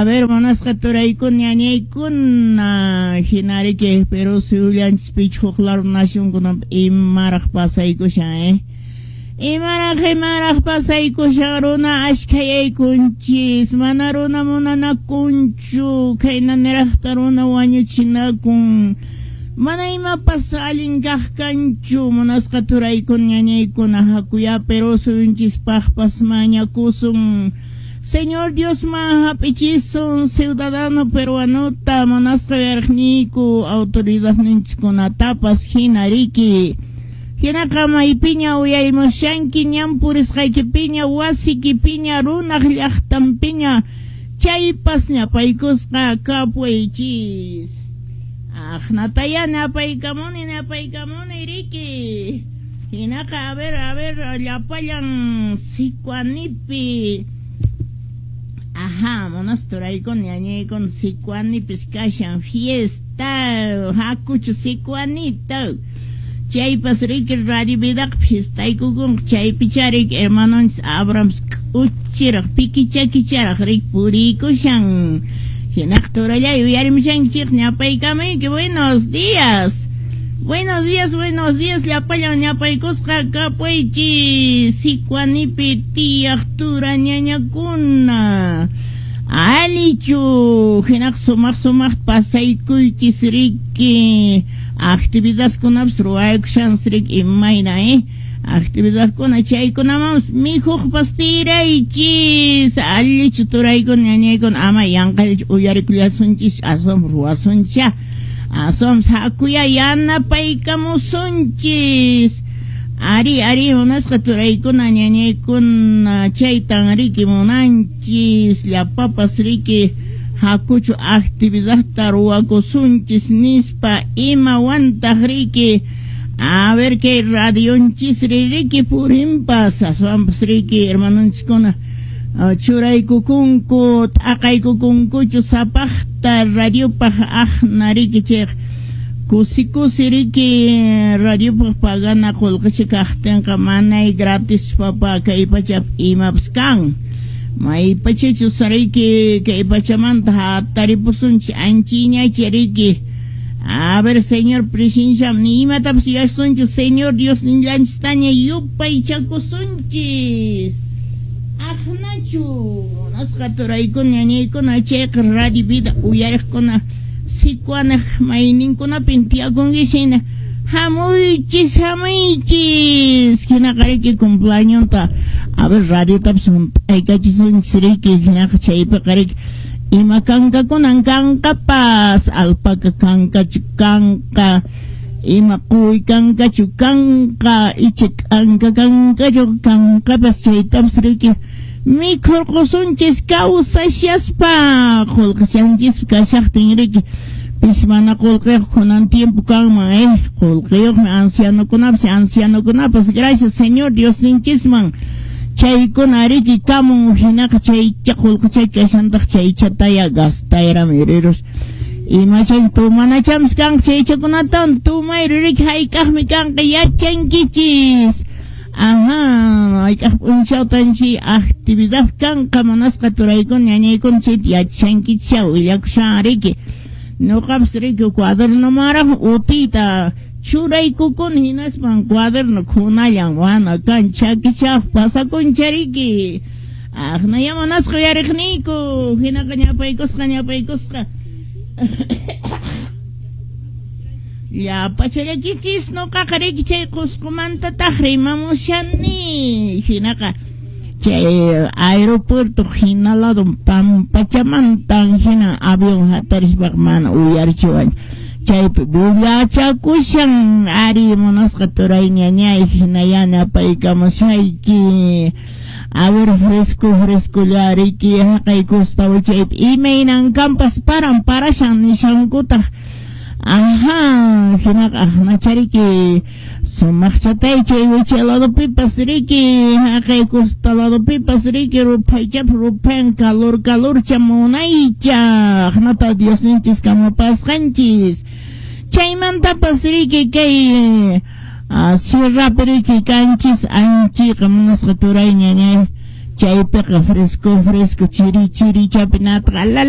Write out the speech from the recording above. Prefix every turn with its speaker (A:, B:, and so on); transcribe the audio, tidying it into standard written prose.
A: A ver, munasqa turaykuna, ñañaykuna, hina riki Perú suyullanchispichu huk lado nacionkunapi imaraq pasaykushan, eh? Imaraq pasaykushan, runa ashkhayaykunchis, mana runa munanakunchu, khayna niraqta runa wañuchinakun, mana imapas allin kaq kanchu, munasqa turaykuna, ñañaykuna, hakuya Perú suyunchispaqpas mañakusun. Señor Dios man hap'ichisun ciudadano peruanota, munasqa uyariqniyku autoridadninchikkunatapas hina riki. Hinaqa maypiña uyarimushanki, ñan purisqaykipiña, wasikipiña, runaq llaqtanpiña, chaypas ñapaykusqa kapuwaychis. Aqnataya napaykamuni, napaykamuni riki. Hinaqa a ver, llapallan Sicuanipi. Ajá, munasturaykuna, ñañaykuna, Sicuanipis kashan fiesta, hakuchu Sicuanita. Chaypas riki Radio Vidaqa fiestaykukunqa, chaypicha riki hermanonchis Abrams k'uchiraq, pikichakicharaq riki puriykushan. Hinaqa turallay uyarimushankichik, ñapaykamayki, buenos días. Buenos días, buenos días, llapallan ñapaykusqa kapuychis, Sicuanipi tiyaq tura ñañakuna. Alichu, hinaq sumaq sumaq pasaykuychis riki, actividadkunapas ruwaykushanchis riki imayna, eh? Actividadkuna chaykunamanpas mikhuqpas tiraychis, allichu turaykuna ñañaykuna, ama yanqallachu uyarikullasunchis, aswan ruwasuncha. Aswan hakuya yanapaykamusunchis. Ari, ari, munasqa turaykuna, ñañaykuna, chaytan riki munanchis, llapapas riki hakuchu actividadta ruwakusunchis nispa, imawantaq riki. A ver kay radionchis riki purinpas, aswanpas riki hermanonchiskuna churaykukunku, t'aqaykukunkuchu sapaqta radiopaq aqna riki chayqa kusi kusi riki radiopaq pagana qullqicha kaqtinqa manay gratis papa kay pachapi imapas kan. Maypachachus riki kay pachamanta hataripusunchik anchiñacha riki. A ver, señor presencia, ni imatapas yuyasunchu, Señor Dios ninllanchistaña yupaychakusunchis. Aqnachu munasqa turaykuna, ñañaykuna, chayqa Radio Vida uyariqkuna Sicuanaq mayninkunapin tiyakunkichis hina hamuychis, hamuychis. Hinaqa riki cumpleañonta, a ver, radiotapas hunt'aykachisunchis riki, hinaqa chaypiqa riki ima kankakunan kanqapas, alpaca kankachu kanqa, ima quwi kankachu kanqa, icha k'anka kankachu kanqapas, chaytapas riki mikhurqusunchis kawsashaspa, qullqichanchis kashaqtin riki pis mana qullqiyuq kunan tiempo kanman, qullqiyuqmi ancianokunapas, ancianokunapas, gracias Señor Diosninchisman. Chaykuna riki kamun hinaqa chaycha qullqichay kashantaq chaychataya gastayrami rirus. Imachay tumanachams kanqa chaychakunatawan tumayri riki hayk'aqmi kanqa yachankichis. Ajá, hayk'aq p'unchawtan chay actividad kanqa munasqa turaykuna, ñañaykuna chayta yachankichis willakushan riki. Ñuqapas riki cuadernomaraq utiyta churaykukuni hinaspan cuaderno kunallan wana kan chakichaq pasakuncha riki. Aqnaya munasqa uyariqniyku, hinaqa ñapaykusqa, ñapaykusqa. Llapachallakichis ñuqaqa riki chay Qusqumantataq rimamushani. Hinaqa chay aeropuerto hina lado pampachamantan hina avión hatarispaqa mana uyarichiwan. Chaypi bullachakushan ari munasqa turay ñañay hinaya napaykamushayki. A ver, fresco, fresco riki haqay costa chaypi imaynan kanpas paran parashan nishankutaq. Ajá, hinaqa aqnachariki sumaqchatay chay wichay ladopipas riki haqay costa ladopipas riki ruphaychapas ruphayan calor calorcha munaycha aqnata Diosninchis kamapasqanchis. Chaymantapas riki kay sierrapi riki kanchis anchiqa munasqa turay ñañay chaypiqa fresco fresco chiri chiri chapinatqa.